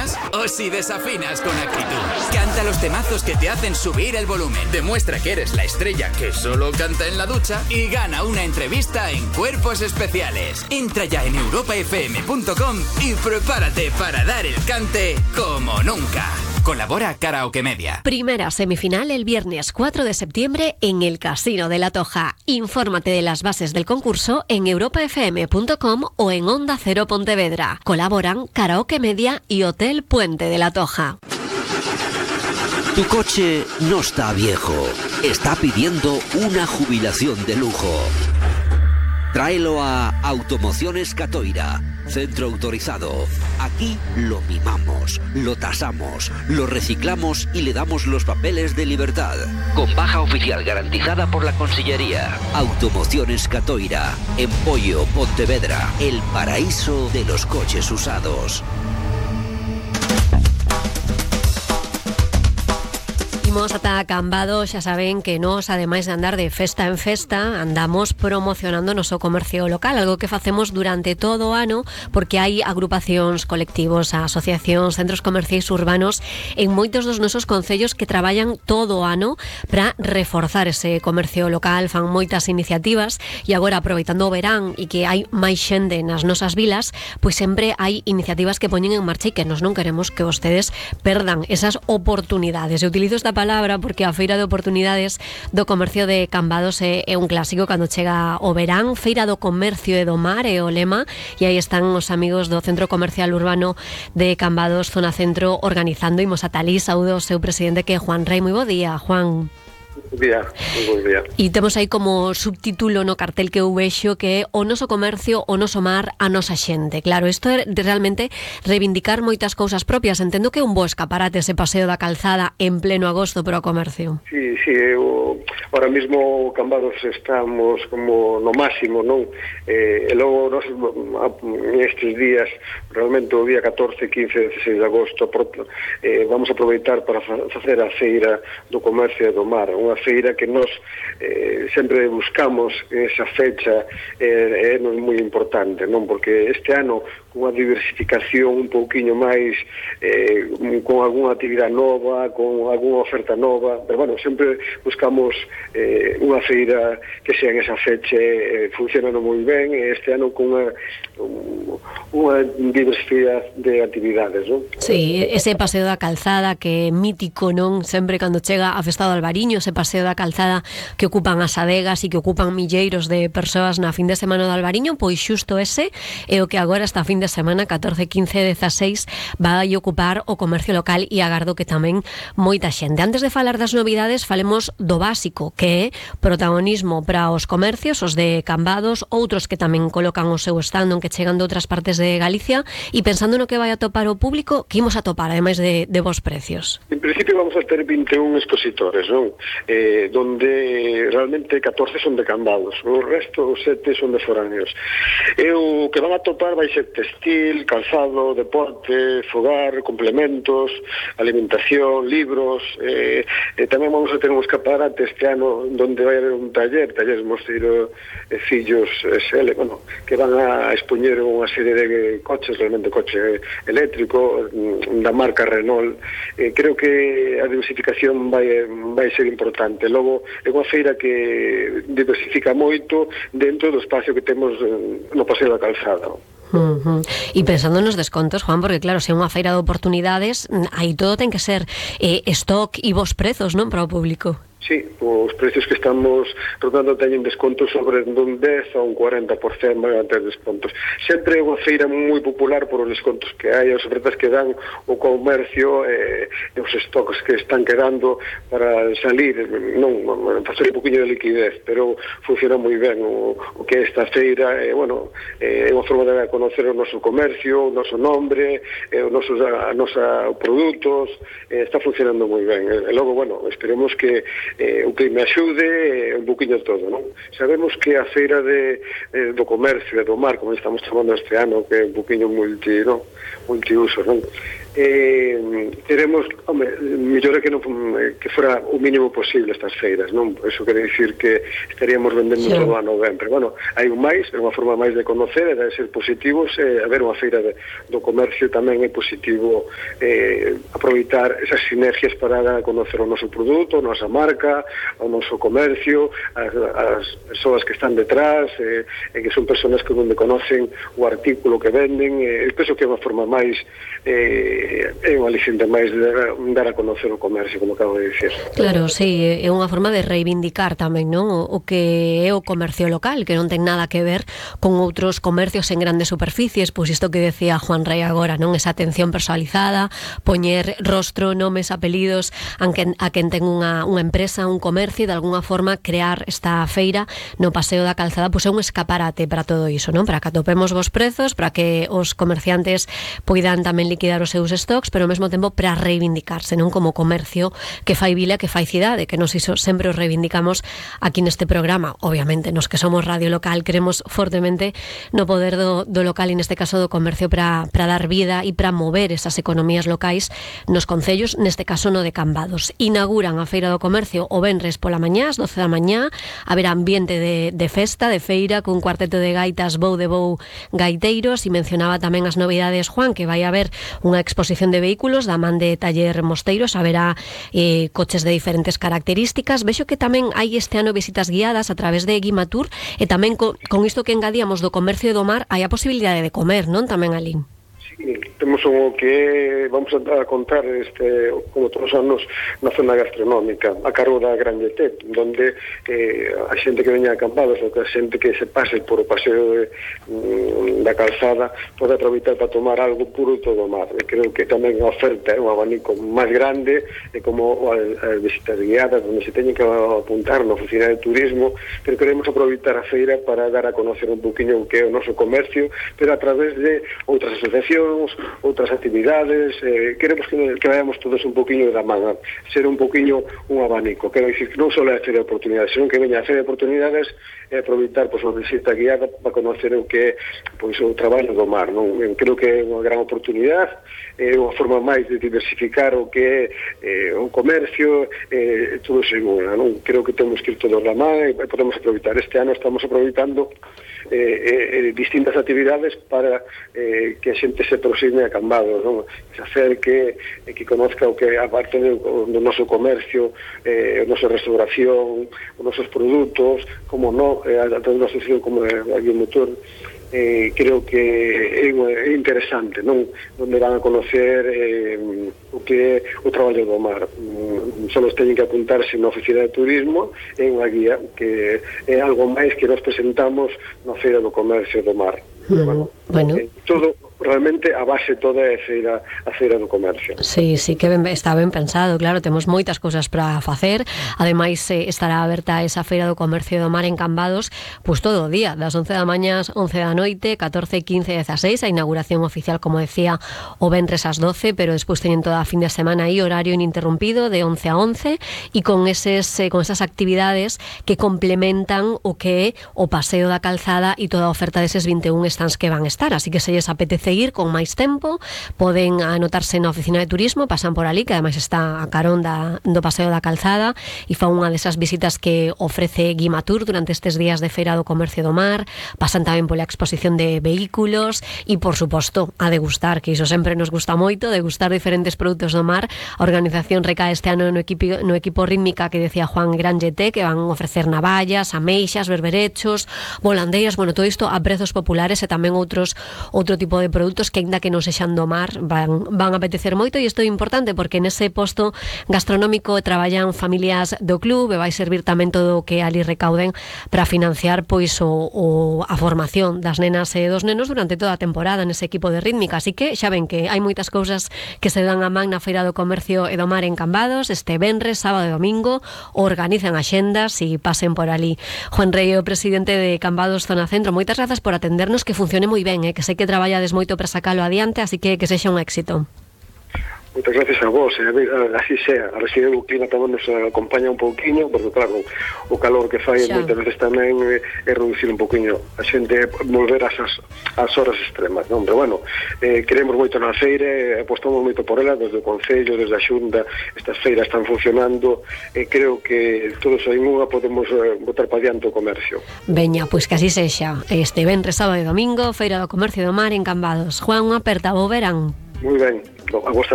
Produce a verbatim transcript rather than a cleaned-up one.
afinas o si desafinas con actitud. Canta los temazos que te hacen subir el volumen. Demuestra que eres la estrella que solo canta en la ducha y gana una entrevista en Cuerpos Especiales. Entra ya en europa f m punto com y prepárate para dar el cante como nunca. Colabora Karaoke Media. Primera semifinal el viernes cuatro de septiembre en el Casino de la Toja. Infórmate de las bases del concurso en europa f m punto com o en Onda Cero Pontevedra. Colaboran Karaoke Media y Hotel Puente de la Toja. Tu coche no está viejo, está pidiendo una jubilación de lujo. Tráelo a Automociones Catoira, centro autorizado. Aquí lo mimamos, lo tasamos, lo reciclamos y le damos los papeles de libertad. Con baja oficial garantizada por la Consellería. Automociones Catoira, en Pollo, Pontevedra, el paraíso de los coches usados. Imos ata Cambados, xa saben que nos, ademais de andar de festa en festa, andamos promocionando o noso comercio local, algo que facemos durante todo o ano, porque hai agrupacións, colectivos, asociacións, centros comerciais urbanos en moitos dos nosos concellos que traballan todo o ano para reforzar ese comercio local, fan moitas iniciativas e agora, aproveitando o verán e que hai máis xente nas nosas vilas, pois sempre hai iniciativas que poñen en marcha e que nos non queremos que vostedes perdan esas oportunidades. Eu utilizo esta palabra porque a Feira de Oportunidades do Comercio de Cambados é, é un clásico cando chega o verán. Feira do Comercio e do Mar é o lema e aí están os amigos do Centro Comercial Urbano de Cambados, Zona Centro, organizando. Imos a Talí, saúdo o seu presidente, que é Juan Rey. Moi bo día, Juan. Bo día, moi bo día. E temos aí como subtítulo no cartel que eu vexo que é o noso comercio, o noso mar, a nosa xente. Claro, isto é de realmente reivindicar moitas cousas propias. Entendo que é un bo escaparate ese paseo da calzada en pleno agosto para o comercio. Sí, sí, eu, ahora mismo Cambados estamos como no máximo, non? Eh, e logo nos, estes días, realmente o día catorce, quince, dezasseis de agosto, eh, vamos a aproveitar para facer a Feira do Comercio e do Mar, unha feira que nos eh, sempre buscamos esa fecha, eh, é moi importante, non? Porque este ano, cunha diversificación un pouquiño máis, eh, con algunha actividade nova, con algunha oferta nova, pero bueno, sempre buscamos eh, unha feira que sea en esa fecha, eh, funcionando moi ben, e este ano con unha, unha diversidade de actividades, non? Sí, ese paseo da calzada que é mítico, non? Sempre cando chega a Festa do Albariño, ese paseo da calzada que ocupan as adegas e que ocupan milleiros de persoas na fin de semana do Albariño, pois xusto ese é o que agora esta fin de semana, catorce, quince, dezasseis, vai ocupar o comercio local e agardo que tamén moita xente. Antes de falar das novidades, falemos do básico, que é protagonismo para os comercios, os de Cambados, outros que tamén colocan o seu stand, que chegan de outras partes de Galicia, e pensando no que vai a topar o público, que imos a topar, ademais de, de vos precios? En principio vamos a ter vinte e un expositores, non? Eh, donde realmente catorce son de Cambados, o resto, os sete son de foráneos. E o que van a topar vai ser textil, calzado, deporte, fogar, complementos, alimentación, libros, eh, eh, tamén vamos a ter un escaparate este ano donde vai haber un taller, talleres Mosteiro e Fillos S L, bueno, que van a expoñer unha serie de coches, realmente coche eléctrico, da marca Renault. Eh, creo que a diversificación vai, vai ser importante. Logo, é unha feira que diversifica moito dentro do espacio que temos no Paseo da Calzada. Uh-huh. E pensando nos descontos, Juan, porque claro, se é unha feira de oportunidades, aí todo ten que ser eh, stock e vos prezos, non, para o público. Sí, os precios que estamos rodando teñen descontos sobre dun dez a un cuarenta por cento, van a ter descontos. Sempre é unha feira moi popular por os descontos que hai, as ofertas que dan o comercio, eh, e os stocks que están quedando para salir, non, facer un poquinho de liquidez, pero funciona moi ben o, o que é esta feira, e, eh, bueno, é eh, unha forma de conocer o noso comercio, o noso nombre, eh, os nosos a, a nosa produtos, eh, está funcionando moi ben. E, e logo, bueno, esperemos que Eh, o que me axude eh, un poquinho todo, non? Sabemos que a feira de, eh, do comercio e do mar, como estamos chamando este ano, que é un poquinho multi, non? multiuso, non? eh, teremos, home, mellor é que, non, que fora o mínimo posible estas feiras, non? Eso quere dicir que estaríamos vendendo sí. todo a novembro. Bueno, hai un máis, é unha forma máis de conocer e de ser positivos, eh, a ver unha feira de, do comercio tamén é positivo eh, aproveitar esas sinergias para dar a conocer o noso produto, a nosa marca, o noso comercio, as, as persoas que están detrás, eh, e que son persoas que onde conocen o artículo que venden, eh, penso que é unha forma máis eh, é unha aliciente máis de dar, dar a conocer o comercio, como acabo de dicir. Claro, sí, é unha forma de reivindicar tamén, non? O, o que é o comercio local, que non ten nada que ver con outros comercios en grandes superficies, pois isto que decía Juan Rei agora, non? Esa atención personalizada, poñer rostro, nomes, apelidos a quen, a quen ten unha, unha empresa, un comercio, e de alguna forma crear esta feira no Paseo da Calzada, pois é un escaparate para todo iso, non? Para que atopemos vos prezos, para que os comerciantes poidan tamén liquidar os seus stocks, pero ao mesmo tempo para reivindicarse, non? Como comercio que fai vila, que fai cidade, que nos iso sempre os reivindicamos aquí neste programa. Obviamente, nos que somos radio local queremos fortemente no poder do, do local, e neste caso do comercio, para, para dar vida e para mover esas economías locais nos concellos, neste caso no de Cambados. Inauguran a Feira do Comercio o venres pola mañá, ás doce da mañá, haberá ambiente de, de festa, de feira, cun cuarteto de gaitas Bou de Bou gaiteiros, e mencionaba tamén as novidades, Juan, que vai haber unha exposición de vehículos da man de Taller Mosteiros, haberá eh, coches de diferentes características. Vexo que tamén hai este ano visitas guiadas a través de Guimatur, e tamén con, con isto que engadíamos do comercio do mar, hai a posibilidade de comer, non? Tamén ali. Sí, temos o que vamos a contar este, como todos os anos, na zona gastronómica, a cargo da Grande T, donde eh, a xente que veña a Cambados, ou que a xente que se pase por o paseo de, mm, da calzada, pode aproveitar para tomar algo puro e todo mar. E creo que tamén a oferta é un abanico máis grande, e como as visitas guiadas, onde se teñen que apuntar na oficina de turismo, pero queremos aproveitar a feira para dar a conocer un poquinho o que é o noso comercio, pero a través de outras asociacións, outras actividades, eh, queremos que, que vayamos todos un poquinho da manga, ser un poquinho un abanico, quero dicir que non só é a feira de oportunidades, senón que veña a feira de oportunidades e aproveitar pois, a visita guiada para conocer o que é pois, o traballo do mar, non? Creo que é unha gran oportunidade, é unha forma máis de diversificar o que é eh, o comercio, eh, todo seguro, non? Creo que temos que ir todos da man e podemos aproveitar. Este ano estamos aproveitando Eh, eh, distintas actividades para eh, que a xente se aproxime a Cambados, non? Se acerque, eh, que conozca o que a parte do, do noso comercio, eh, a nosa restauración, os nosos produtos, como non, eh, a toda a asociación como a Guimatur. Eh, creo que é, é interesante, non? Onde van a conocer eh, o que é o traballo do mar. Mm, só teñen que apuntarse na oficina de turismo, é unha guía que é algo máis que nos presentamos na Feira do Comercio do Mar. Mm, bueno, bueno. Eh, todo realmente a base toda é a feira, a feira do comercio. Sí, sí, que ben, está ben pensado, claro, temos moitas cousas para facer. Ademais, eh, estará aberta esa feira do comercio do mar en Cambados, pois todo o día, das once da mañá ás once da noite, catorce, quince, dezaseis, a inauguración oficial, como decía, o venres ás doce, pero despois teñen toda a fin de semana aí, horario ininterrumpido, de once a once, e con eses, eh, con esas actividades que complementan o que é o Paseo da Calzada e toda a oferta deses vinte e un stands que van estar. Así que se lles apetece ir con máis tempo, poden anotarse na oficina de turismo, pasan por ali, que ademais está a carón da, do Paseo da Calzada, e fa unha desas visitas que ofrece Guimatur durante estes días de Feira do Comercio do Mar. Pasan tamén pola exposición de vehículos e, por suposto, a degustar, que iso sempre nos gusta moito, degustar diferentes produtos do mar. A organización recae este ano no equipo, no equipo rítmica que decía Juan Granjete, que van ofrecer navallas, ameixas, berberechos, volandeiras, bueno, todo isto a prezos populares, e tamén outros outro tipo de produtos que, ainda que non sexan do mar, van, van a apetecer moito. E isto é importante porque nese posto gastronómico traballan familias do club, e vai servir tamén todo o que ali recauden para financiar pois o, o, a formación das nenas e dos nenos durante toda a temporada nese equipo de rítmica. Así que xa ven que hai moitas cousas que se dan a man na Feira do Comercio e do Mar en Cambados este venres, sábado e domingo. Organizan axendas e pasen por ali. Juan Rei, o presidente de Cambados Zona Centro, moitas grazas por atendernos, que funcione moi ben, eh? Que sei que traballades moito para sacalo adiante, así que que sexa un éxito. Moitas gracias a vos, e a ver, así sea, a residencia do clima tamén nos acompaña un pouquiño, porque claro, o calor que fai xa. moitas veces tamén é, é reducir un pouquiño a xente, volver ás, ás horas extremas, non? Pero bueno, eh, queremos moito na feira, eh, apostamos moito por ela, desde o Concello, desde a Xunta, estas feiras están funcionando, e eh, creo que todos en unha podemos eh, botar para diante o comercio. Veña, pois que así sexa. Este venres, sábado e domingo, Feira do Comercio do Mar en Cambados. Juan, unha aperta, vou verán. Moi ben, a vos tamén.